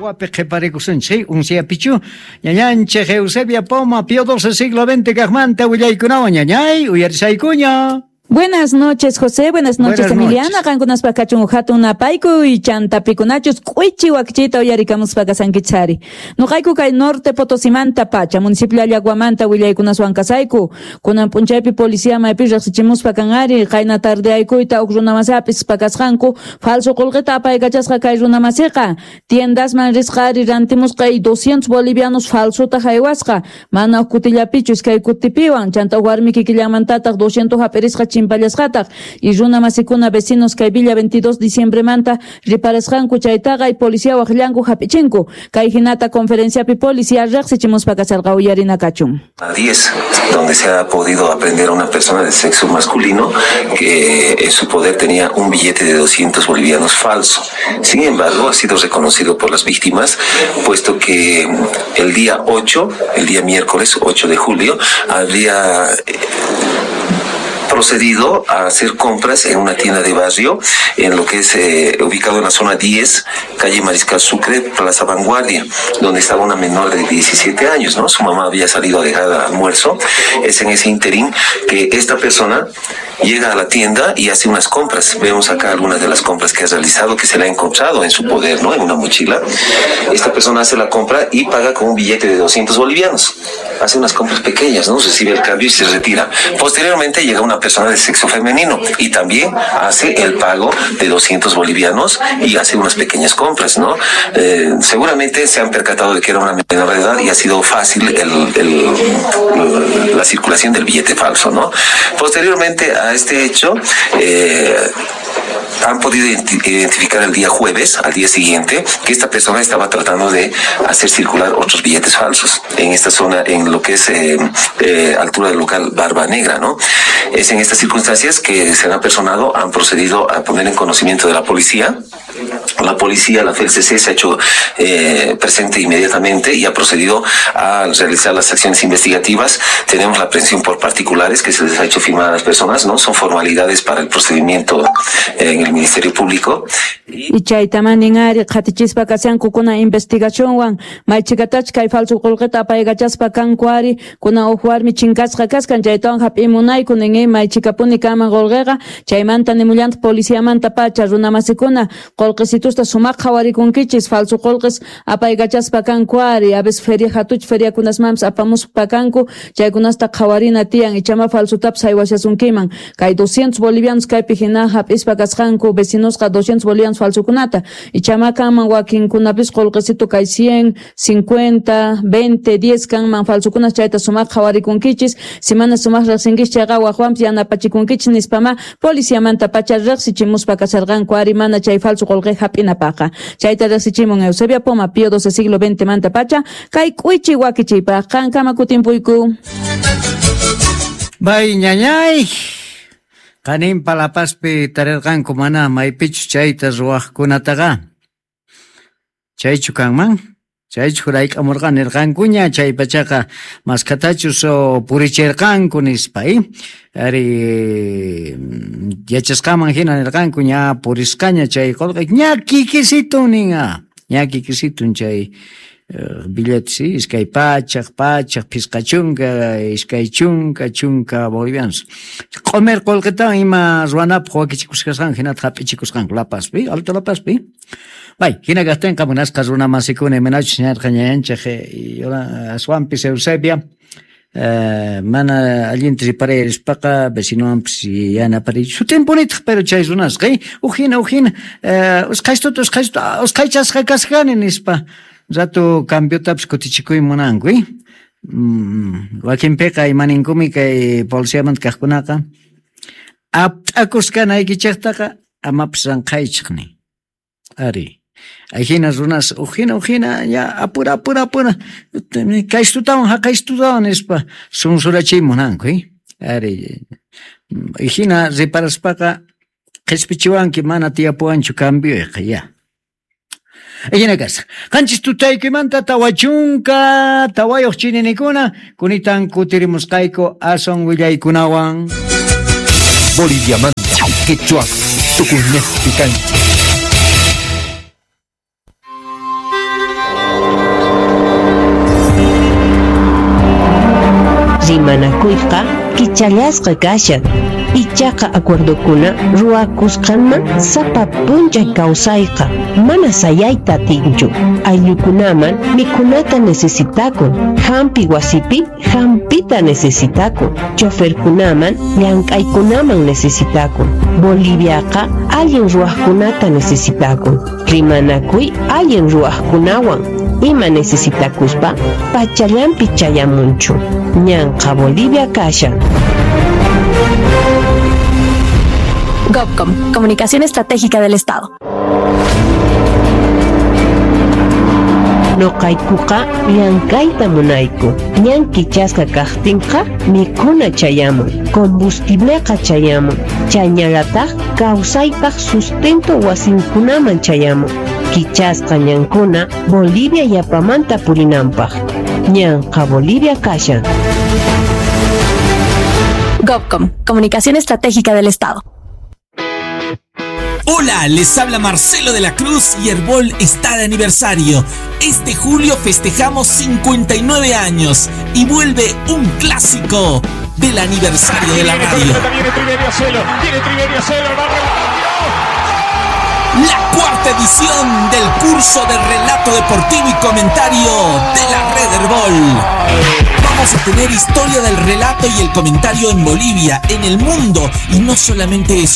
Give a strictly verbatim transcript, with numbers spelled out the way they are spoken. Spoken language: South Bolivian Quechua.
Wapi qhiparikusunchik unsiapichu ñañanchik Eusebia Poma Pío doce siglo veinte kaqmanta willaykunawan ñañay uyarisaykuña. Buenas noches, José. Buenas noches, Buenas Emiliana. noches. Qankunaspa kachun hatun napayku y chantapikunachus k'uichi wakchita uyarikamuspa kasankichari. Nuqayku kay Norte Potosimanta pacha, municipio Allaguamanta willaykunaswan kasayku. Kunan p'unchaypi policía maypi riqsichimuspa kanari, qayna tardeaykuyta huk runamasapis pakasqanku, falso qullqita apaykachasqa kay runamasiqa. Tiendasman risqa ari rantimusqa y doscientos bolivianos falsota haywasqa. Mana huk kutillapichu iskay kutipiwan, chanta warmi kikillanmantataq doscientos hap'irisqa chimpallasqataq. Y runa masikuna vecinos kay Villa veintidós diciembre manta riparasqanku chaytaqa y policía waqllanku hap'ichinku. Kay hinata conferenciapi policía riqsichimuspa kasarqa uyarina kachun. A diez, donde se ha podido aprender a una persona de sexo masculino que en su poder tenía un billete de doscientos bolivianos falso. Sin embargo, ha sido reconocido por las víctimas, puesto que el día ocho, el día miércoles ocho de julio, habría procedido a hacer compras en una tienda de barrio, en lo que es, eh, ubicado en la zona diez, calle Mariscal Sucre, Plaza Vanguardia, donde estaba una menor de diecisiete años, ¿no? Su mamá había salido a dejar almuerzo. Es en ese interín que esta persona llega a la tienda y hace unas compras. Vemos acá algunas de las compras que ha realizado, que se le ha encontrado en su poder, ¿no? En una mochila. Esta persona hace la compra y paga con un billete de doscientos bolivianos. Hace unas compras pequeñas, ¿no? Recibe el cambio y se retira. Posteriormente llega una persona de sexo femenino y también hace el pago de doscientos bolivianos y hace unas pequeñas compras, ¿no? Eh, seguramente se han percatado de que era una menor de edad y ha sido fácil el, el, la circulación del billete falso, ¿no? Posteriormente a este hecho, eh, han podido identi-, identificar el día jueves, al día siguiente, que esta persona estaba tratando de hacer circular otros billetes falsos en esta zona, en lo que es, eh, eh, altura del local Barba Negra, ¿no? Es en estas circunstancias que se han apersonado, han procedido a poner en conocimiento de la policía. La policía, la F L C C, se ha hecho, eh, presente inmediatamente y ha procedido a realizar las acciones investigativas. Tenemos la aprehensión por particulares que se les ha hecho firmar a las personas, ¿no? Son formalidades para el procedimiento en el Ministerio Público. Y chaytaman ninari qhatichispa kashanku kuna investigacionwan maychikatach kay falso qullqita apaykachaspa kanku ari kuna huk warmi chinkasqa kaskan chaytawan hap'imunayku nin maychikapuni kanman qullqiqa chaymanta nimullantaq policiamanta pacha runamasikuna qullqisitusta sumaq qhawarikunkichis falso qullqis apaykachaspa kanku ari a veces feria hatuch feriakunasmanpis apamuspa kanku chaykunasta qhawarina tiyan ichama falsotapis haywashasunkiman kay doscientos bolivianos kaypi hina hap'ispa kasqanku vecinosqa doscientos bolivianos falsokunata ichama kanman wakinkunapis qullqisito kay cien, cincuenta, veinte, diez kanman falsokunas chayta sumaq qhawarikunkichis si mana sumaq riqsinkichis chayqa waqwanpis yanapachikunkichis nispama policiamanta pacha riqsichimuspa kasarqanku ari mana chay falso qullqi hap'inapaqa chayta riqsichimun Eusebia Poma Pío doce siglo veinte manta pacha kay k'uychi wakichiypaq qankama kutimpuyku. Bay ñañay qaninpa La Pazpi tarirqanku mana maypichus chayta ruwaqkunataqa chaychu kanman chaychu hurayk'amurqa nirqankuña chay pachaqa maskatachus purichirqanku nispa eh? Ari yachasqaman hina nirqanku ña purisqaña chay qullqi ña kikisitun ninqa ña kikisitun chay billetes sí, iskay pachaq pachaq phisqa chunka iskay chunka chunka bolivianos q'umir qullqitawan ima ruwanapaq wakichikusqasqanku hinataq hap'ichikusqanku La Pazpi Alto La Pazpi bay hina kaqtinqa munasqa runamasikuna imanachus ñarqa ñañanchik aswanpis Eusebia Eh, mana allinta riparayrispaqa vecinowanpis yanapariy sutinpunitaq pero chay runasqa huk hina huk hina usqhaystuta usqhaystuta usqhaychasqa kasqani nispa rato cambiotapis kutichikuy munanku eh? Mm, wakinpiqa imaninkumi kay policiamanta kaqkunaqa apt'akuskanaykichiktaqa amapis ranqhaychik nin ari Ajina runas ujina ujina ya apura apura apura kaystutawan haqaystutawan nispa sunsurachiy munanku eh? Ari hina riparaspaqa qhispichiwanki mana tiyapuwanchu cambioyqa ya. Hina kasqa qanchis tutaykimanta tawa chunka tawayuq chininikuna kunitan kutirimusqayku aswan willaykunawan. Boliviamanta, quechua, tukuñespi kanchik. Rimanakuyqa kichallasqa kashan, ichaqa acuerdokuna ruwakusqanman sapa p'unchay kawsayqa mana sayayta atinchu. Ayllukunaman mikhunata necesitakun, hampi wasipi hampita necesitakun, choferkunaman llank'aykunaman necesitakun. Boliviaqa allin ruwaqkunata necesitakun. Rimanakuy allin ruwaqkunawan ima necesitakuspa pachallanpi chayamunchu. Ñanqa Bolivia kashan. GovCom, Comunicación Estratégica del Estado. Noqaykuqa llank'ayta munayku. Ñan kichasqa kaqtinqa mikhuna chayamun, combustibleqa chayamun, chayñallataq kawsaypaq sustento wasinkunaman chayamun. Kichasqa ñankuna Bolivia yapamanta purinanpaq. Ñanqa Bolivia kashan. GovCom, Comunicación Estratégica del Estado. Hola, les habla Marcelo de la Cruz y Herbol está de aniversario. Este julio festejamos cincuenta y nueve años y vuelve un clásico del aniversario de la radio. La cuarta edición del curso de relato deportivo y comentario de la Red Herbol. Vamos a tener historia del relato y el comentario en Bolivia, en el mundo, y no solamente eso,